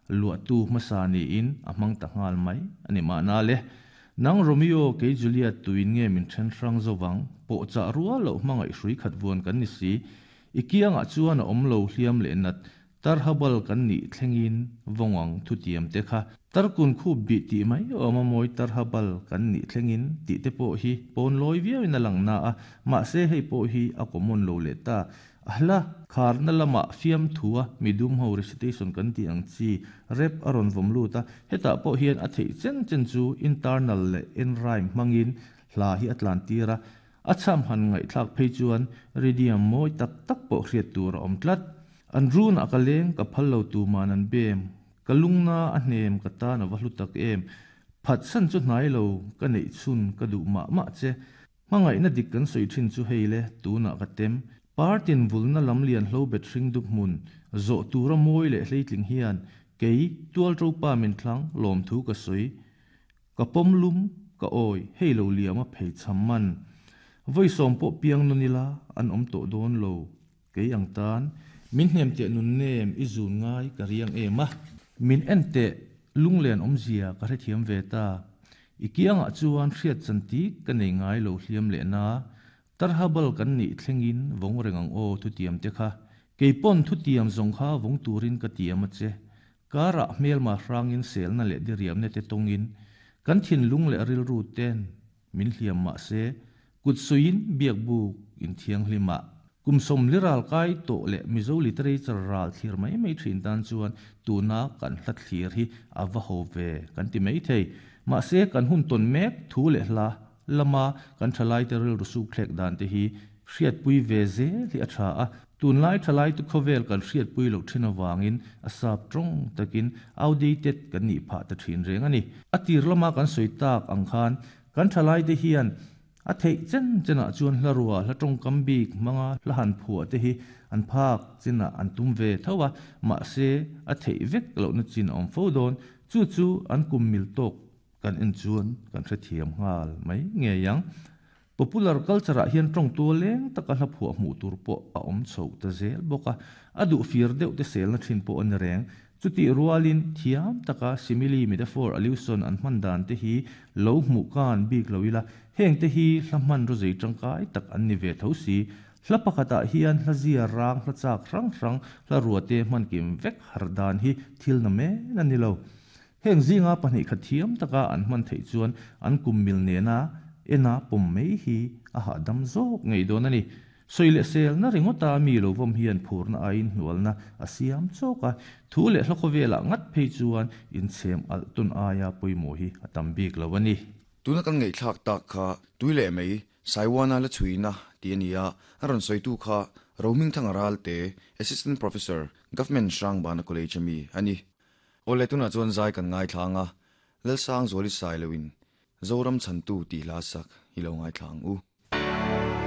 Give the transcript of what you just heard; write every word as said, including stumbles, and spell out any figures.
Luahtu hmasa niin a hmang ta nghal mai a ni mahna le. Nang Romeo kei Juliet tuin nge min then hrang zovang pawh chah rual loh hmangaih hrui khat vuan kan ni si. I kiangah chuan a awm lo hliam leh nat tarhabal kan nih thlengin vawngang thu tiam te kha tarkun khup bi tih mai awm a mawi tarhabal kan nih thlengin tih te pawh hi pawn lawi viauin a lang na a mahse hei pawh hi a common lo leh ta. A hla kharna lama fiam thua midum ho recitation kan ti ang chi rep a rawn vawm lut a hetah pawh hian a theih chen chen chu internal leh en rhyme hmangin hla hi a tlan tir a a cham han ngaihthlak phei chuan rhythm mawi tak tak pawh hriat tur a awm tlat. An run a ka leng ka phal lo tu man an bem ka lungna a hnem ka tan a va hlu tak em phat san chu hnai lo ka neih chhun ka duh mah mah che hmangaih na dik kan sawi thin chu hei le tuna ka tem partin vulna lam lian hlo bet hring dup hmun zo tura mawi leh hleitling hian kei tual ro pa min thlang lawm thu ka sawi ka pawm lum ka awi hei lo liam a phei cham man voi som pawh piang nunila an awm tawh dawn lo kei ang tan min hnem te nun nem i zun ngai ka riang em a min en te lunglen awm zia ka hrethiam ve ta i kiangah chuan hriat chanti ka nei ngai lo hliam leh na tarhabal kan nih thlengin vawng reng ang aw thu tiam te kha keipon thu tiam zawng kha vawng turin ka tiam a che kara hmel ma hrangin selna leh diriam ne te tongin kan thin lung leh rilru ten min hliam ma se kut suin biak buk in thiang hlima kumsom liral kai to le Mizo literature ral thlir mai mai thin tan chuan tuna kan hla thlir hi awa ho ve kan ti mai thei ma se kan hun ton mek thu le hla lama kan thalai te ril rusu thlek dan te hi hriat pui ve ze hi a tha a tun lai thalai tu khovel kan hriat pui lo thin awangin a sap tong takin outdated kan ni pha ta thin reng ani atir lama kan soi tak ang khan kan thalai te hian a thei chen chena chuan hla ruwa hla tong kam bik manga hla han phua te hi an phak china an tum ve thawa ma se a thei vek lo na chin awm fo don chu chu an kum mil tok kan en chuan kan hrethiam nghal mai nge yang popular culture ah hian tong tu leng taka hla phua hmu tur pawh a awm chho ta zel bawka a duh fir deuh te sel na thin pawh an reng chuti rualin thiam taka simile metaphor allusion an hman dan te hi lo hmu kan bik loila heng te hi hla hman ro zei tangkai tak an ni ve tho si hla pakhatah hian hla zia rang hla chak hrang hrang hla ruate hman kim vek har dan hi thil na men ani lo heng zinga pahnih kha thiam taka an hman theih chuan an kum mil nena ena pawm mai hi a hahdam zawk ngei dawn ani soile sel na ringota mi lo vom hian phurna ain hnualna a siam chawka thu leh hla khawvela ngat phei chuan in chem al tun aia pawimawh hi a tam bik lo ani. Tuna kan ngei thlak tak kha tuile mei Saiwana la chuina ti ania a rawn sawitu kha Rohming Thangaral te Assistant Professor Government Hrangbana College ami ani. Ole tuna chuan zai kan ngai thlanga Lalsang Zoli Sailowin Zoram Chantu ti hla sak hi lo ngai thlang u.